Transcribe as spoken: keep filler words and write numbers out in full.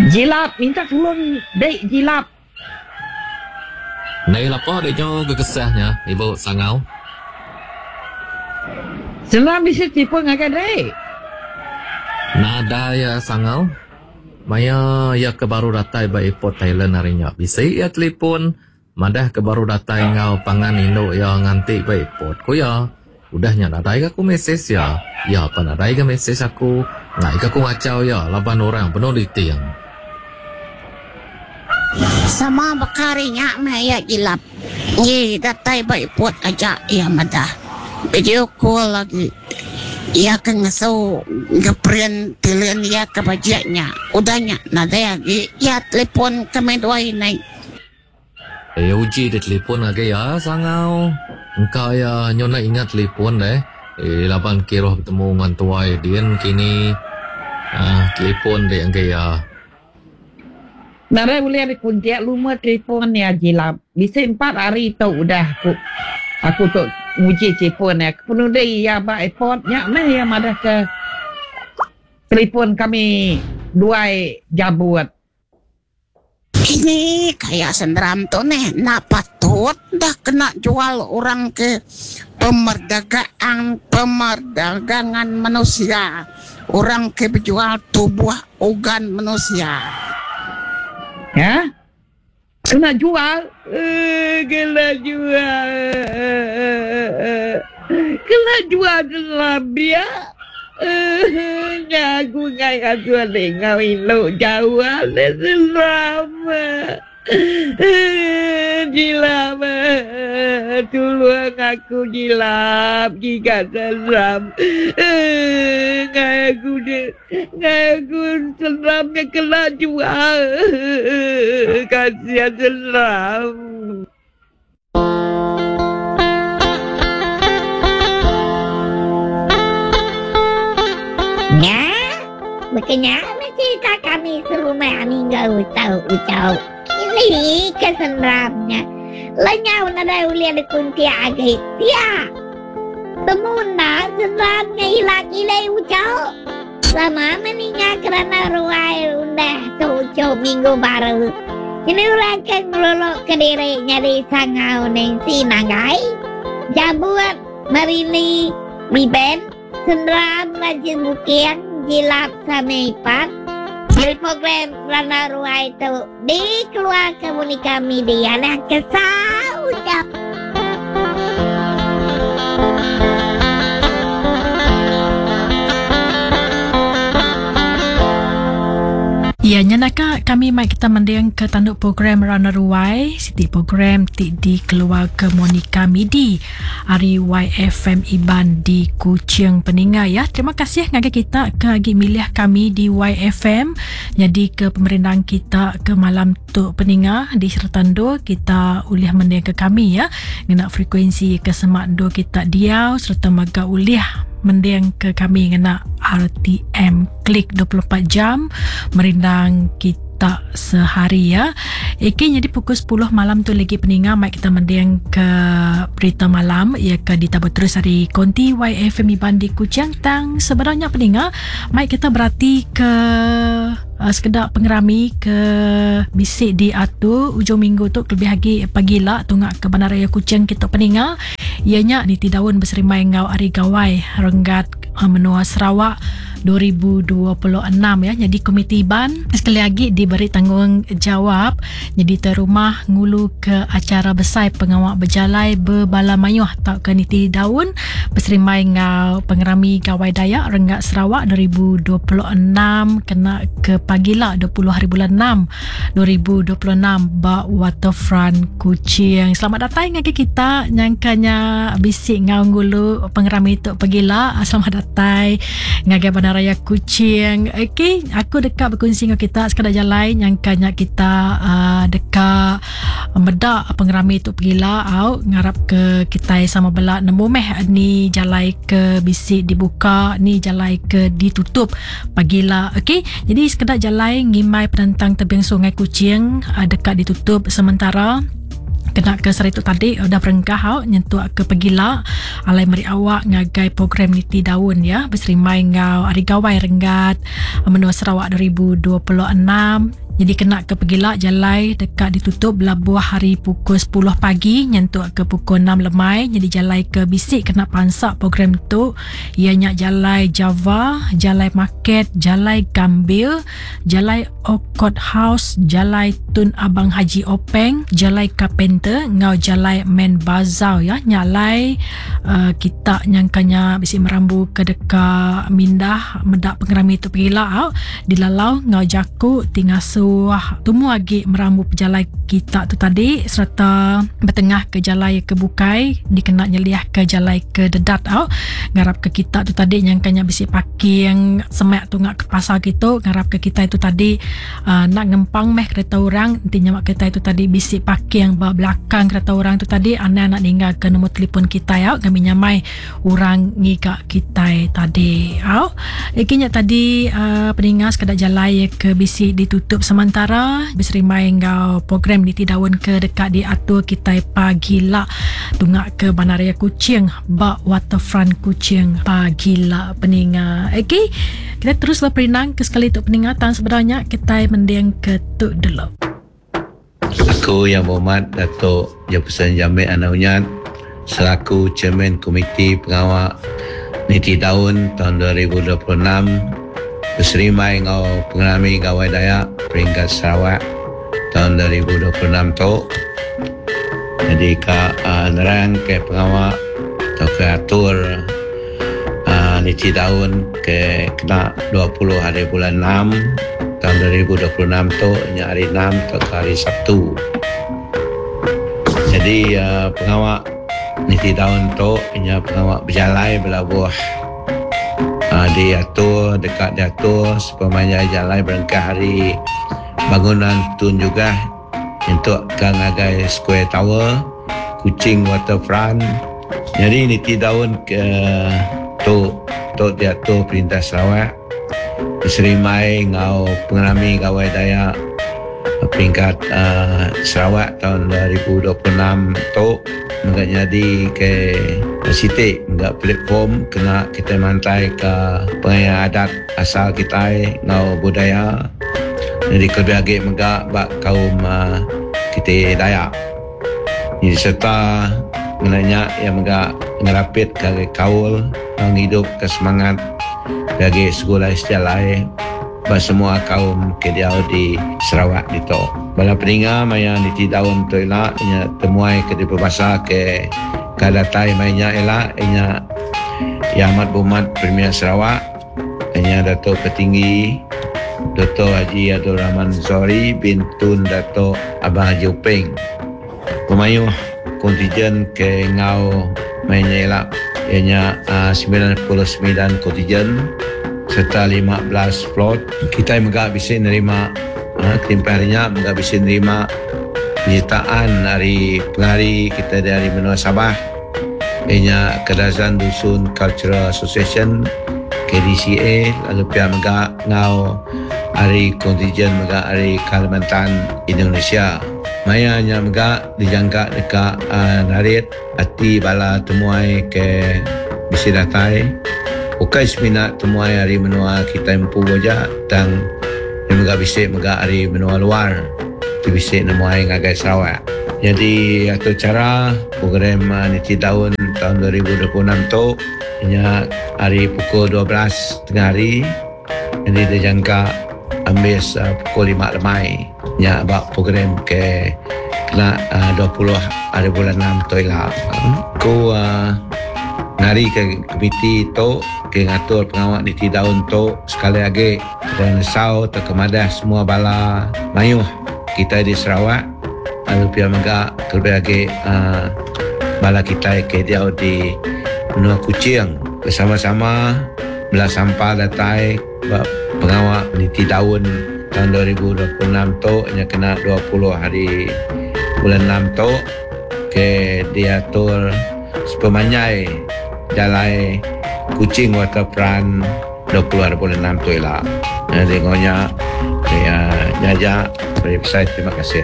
Jilap minta tulung dek jilap. Nei lapa dek nyo gekesahnya ibu sangau. Senang bisi telefon ngagai dek. Nadai ya sangau. Maya ya ke baru datai ba airport Thailand hari nya. Bisi ya telefon madah ke baru datai ngau pangan indu ya nganti ba airport. Ku ya udah nya nadai ga aku mesej ya. Ya pa nadai ga mesej aku. Ngai ga aku ngacau ya laban orang penuh diting. Sama baka hari nya meh iya jilap. Ngi datai ba airport aja iya madah. Video call agi. Iya ke ngesu ngeprint tilin iya ke bajik nya. Udah nya nadai agi iya telefon kami duai nai. Eh uji deh telefon ngagai iya sangau. Engka iya nyu enda ingat telefon deh. Eh laban kiruh betemu ngan tuai din kini. Ah telefon deh ngagai iya. Nadai ulih dikuntik lumur telefon iya jilap. Bisi empat hari tu udah aku aku tu nguji telefon iya. Kepenudi iya ba airport nya meh iya madah ke telefon kami duai jabut. Kini kaya senderam tu neh enda patut dah kena jual orang ke pemerdagaan pemerdagangan manusia orang ke bejual tubuh organ manusia. Ya. Kena jual. Eh, kena jual. Kena jual dalam dia. Eh, aku ngai ngasuh adik ngau indu jauh adik seram. Eh, jilap. Tolong aku jilap. Giga seram. Eh, ngai aku dia. Ngai aku seramnya kena jual. Kasihan seram. Nya, bekenya meh cerita kami serumah minggu tu ucau. Kini ke seram nya. Lenyau nadai ulih dikuntik agi. Pia. Temu enda seram nya ila kilai ucau. Sama meninga kerana ruai undah tu ucau minggu baru. Kini orang ke ngeluluk ke diri nyadi sangau Nancy Nanggai. Jabut, Marini, Biben, Senderam Rajin Buking, Jilap Sami Ipat. Jadi program Randau Ruai tu dikeluarkan Monica Media dan kesau jam. Ya, nyenaka kami mai kita mending ke tanduk program Randau Ruai, siti program ti dikeluarkan Monica Midi ari Y F M Iban di Kuching Peninga ya. Terima kasih ngagai kita ke agi milih kami di Y F M. Jadi ke pemerindang kita ke malam tu peninga di Sertando kita ulih mending ke kami ya. Ngena frekuensi ke semak do kita diau serta maga ulih mending ke kami ngena R T M klik dua puluh empat jam merindang kita sehari ya. Eki jadi pukul sepuluh malam tu lagi peninga mai kita mending ke berita malam ia ke ditabur terus hari konti Y F M Iban di Kuching. Tang sebenarnya peninga mai kita berarti ke uh, sekedar pengerami ke bisik diatur ujung minggu tu lebih lagi pagi lah tungak ke Bandaraya Kuching kita peninga ianya niti daun berserimai ngau ari gawai renggat uh, menua Sarawak dua ribu dua puluh enam ya. Jadi Komiti Iban sekali lagi diberi tanggungjawab jadi terumah ngulu ke acara besar pengawak berjalai berbala mayuh tau ke niti daun berserimai ngau pengerami Gawai Dayak Renggat Sarawak dua ribu dua puluh enam kena ke pagi lah dua puluh hari bulan enam dua ribu dua puluh enam ba Waterfront Kuching. Selamat datang ngagai kita nyangkanya bisik ngau ngulu pengerami tu pagi lah. Selamat datang ngagai Bandaraya Kuching. Okey, aku dekat berkongsi dengan kita sekadar jalan nyangkanya kita uh, dekat medak pengerami tu pergilah au ngarap ke kita sama belak nemu meh ni jalai ke bisik dibuka ni jalai ke ditutup pagilah. Okey, jadi sekedar jalai ngimbai penentang tebing Sungai Kuching uh, dekat ditutup sementara Kena ke sehari tu tadi udah berengkah au nyentuk ke pegila alai meri awak ngagai program Niti Daun ya beserimbai enggau Hari Gawai Renggat Menua Sarawak dua ribu dua puluh enam. Jadi kena ke pegila jalai dekat ditutup belabuh hari pukul sepuluh pagi nyentuk ke pukul enam lemai. Jadi jalai ke bisik kena pansak program tu ianya jalai Java, jalai Market, jalai Gambil, jalai Okot House, jalai Tun Abang Haji Openg, jalai Carpenter ngau jalai Main Bazar ya. Nyalai uh, kita nyangkanya bisik merambu ke deka mindah medak pengerami tu pegila au dilalau ngau jaku tingasu wah tumu agi merambu pejalai kita tu tadi serta bertengah ke jalai ke bukai dikena nyeliah ke jalai ke dedat au. Ngarap ke kita tu tadi nyangkanya bisi parking semak tunggak ke pasar gitu. Ngarap ke kita itu tadi uh, nak ngempang meh kereta orang nanti nyamak kereta itu tadi bisi parking ba belakang kereta orang tu tadi anak nak ninggal ke nombor telefon kita au kami nyamai orang ngigak kita tadi au. Ikinya tadi uh, peningat sekadar jalai ke bisi ditutup sama sementara berserimai enggau program Niti Daun ke dekat diatur kita pagi lah tunggak ke Bandaraya Kuching bak Waterfront Kuching pagi lah peningat. Okey, kita terus berperinang ke sekali untuk peningatan sebenarnya kita mending ke tuk dulu. Aku yang berhormat Datuk Jefferson Jamit Anak Unyat selaku Chairman Komiti Pengawal Niti Daun tahun dua ribu dua puluh enam berserimai enggau pengerami Gawai Dayak peringkat Sarawak tahun dua ribu dua puluh enam tu. Jadi ka uh, nerang ke pengawal atau ke atur uh, Niti Daun ke kena dua puluh hari bulan enam tahun dua ribu dua puluh enam tu nya hari enam atau ke hari Sabtu. Jadi uh, pengawal Niti Daun tu nya pengawal berjalai berlabuh Uh, diatur, dekat diatur sepemanjai jalan berengkah hari bangunan Tun juga untuk ke ngagai Square Tower, Kuching Waterfront. Jadi Niti Daun ke tu tu diatur Perintah Sarawak berserimai ngau pengerami Gawai Dayak peringkat uh, Sarawak tahun dua ribu dua puluh enam tu enggak jadi ke sitik enggak platform kena kita mantai ke pengaya adat asal kita ngau budaya. Jadi kelebih lagi megak bak kaum uh, kita Dayak. Jadi serta menanya yang megak ngerapit ke kaul menghidup ke semangat bagi sekolah sejalai bak semua kaum ke diau di Sarawak dito. Bala peninga maya Niti Daun tu elak nya temuai ke diperbasa ke kadatai mainya elak nya Yang Amat Berhormat Premier Sarawak nya Datuk Petinggi Dato Haji Abdul Rahman Zohari bin Tun Dato Abang Haji Openg. Pemayuh kontingen ke ngau mainya elak ianya uh, sembilan puluh sembilan kontingen serta lima belas float. Kita megak bisa nerima ha, kelimpahannya megak bisa nerima penyertaan dari pengari kita dari benua Sabah ianya Kadazan Dusun Cultural Association K D C A, lalu pihak megak ngau hari kontingen megak hari Kalimantan Indonesia. Mayanya megak dijangka dekat uh, narit hati bala temuai ke bisi datai. Bukan seminat temuai hari menua kita empu aja tang yang megak bisik megak hari menua luar tu bisik nemuai ngagai Sarawak. Jadi atur cara program uh, Niti Daun tahun dua ribu dua puluh enam tu nya hari pukul dua belas tengah hari. Jadi dijangka ambis uh, pukul lima lemai nya bak program ke kena uh, dua puluh hari bulan enam tu ila. Ku uh, ngari ke komiti tu ke ngatur pengawal Niti Daun tu sekali lagi dan sau terkemadah semua bala mayuh kita di Sarawak lalu pihak megak terlebih lagi uh, bala kita ke dia di benua Kuching bersama-sama belah sampah datai pengawal Niti Daun tahun dua ribu dua puluh enam tu nya kena dua puluh hari bulan enam tu ke diatur sepemanjai jalai Kuching Waterfront dua puluh hari bulan enam tu ialah. Jadi ngonya ya jajak beri pesan terima kasih.